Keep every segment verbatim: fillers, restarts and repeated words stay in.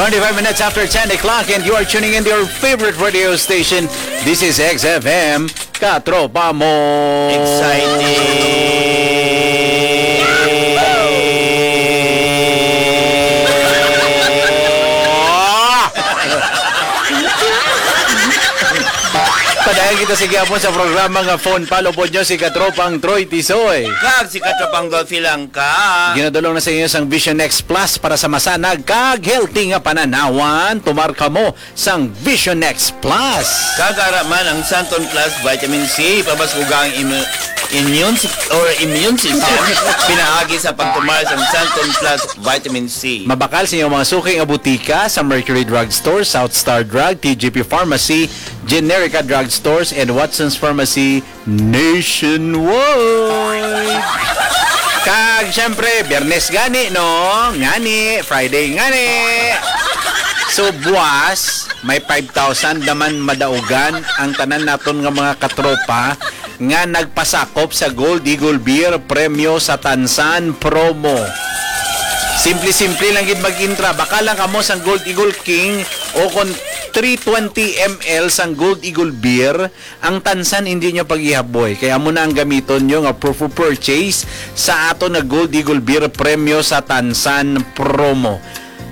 Twenty-five minutes after ten o'clock, and you are tuning in to your favorite radio station. This is X F M, Katropa Mo. Exciting! Padayon kita sa gihapon sa programa nga Phone Palo po nyo si Katropang Troy Tisoy. Kag si Katropang Dolphy Langka. Ginadulong na sa inyo sang Vision X Plus para sa masanag kag healthy nga pananawan. Tumar kamo sang Vision X Plus. Kag ara man ang Santon Plus Vitamin C, pabaskuga ang im-, immune si-, or immune system, pinaagi sa pagtumar sang Santon Plus Vitamin C. Mabakal sa inyong mga suki nga butika sa Mercury Drugstore, South Star Drug, T G P Pharmacy, Generica Drugstores, and Watson's Pharmacy nationwide. Kag, syempre, Biyernes gani, no? Ngani, Friday ngani. So, buwas, may five thousand naman madaugan ang tanan naton nga mga katropa nga nagpasakop sa Gold Eagle Beer Premyo sa Tansan Promo. Simple-simple lang gid mag-intra. Baka lang kamo sang Gold Eagle King o kon three twenty M L sang Gold Eagle Beer, ang tansan hindi nyo pag-ihaboy. Kaya amo na ang gamiton nyo nga proof of purchase sa ato na Gold Eagle Beer Premyo sa Tansan Promo.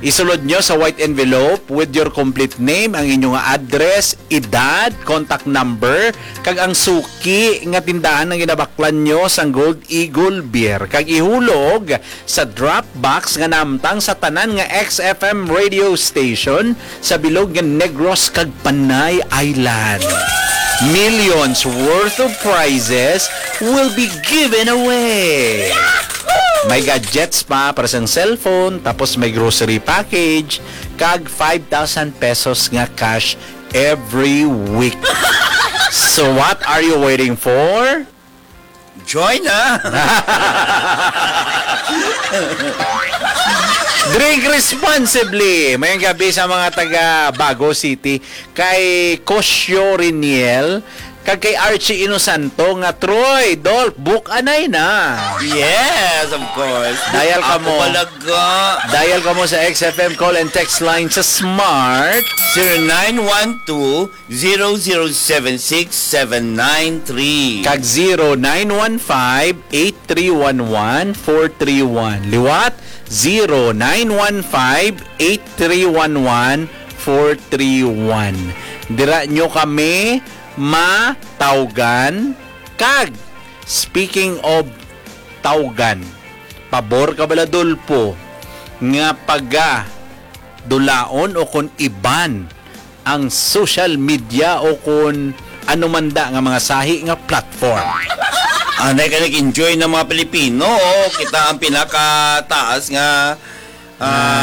Isulod nyo sa white envelope with your complete name, ang inyo nga address, edad, contact number, kag ang suki nga tindahan nga ginabaklan nyo sang Gold Eagle Beer. Kag ihulog sa drop box nga nahamtang sa tanan nga X F M radio station sa bilog nga Negros kag Panay Island. Millions worth of prizes will be given away. May gadgets pa para sa cellphone, tapos may grocery package, kag five thousand pesos nga cash every week. So what are you waiting for? Join na! Drink responsibly. Mayong gabi sa mga taga Bago City. Kay Kosyo Riniel, kag kay Archie Inosanto nga, "Troy, Dolph, book anay na." Yes, of course. Dial ka Ako mo. Talaga. Dial ka mo sa X F M call and text line sa Smart. Zero nine one two, zero zero seven six seven nine three. Kag zero nine one five, eight three one one, four three one. Liwat, zero nine one five, eight three one one, four three one. Dira nyo kami matawgan. Kag, speaking of tawgan, pabor ka bala, Dolpo, nga paga dulaon o kon iban ang social media o kon ano man da nga mga sahi nga platform. Anay ka nag-enjoy ng mga Pilipino, oh. Kita ang pinakataas nga, ah,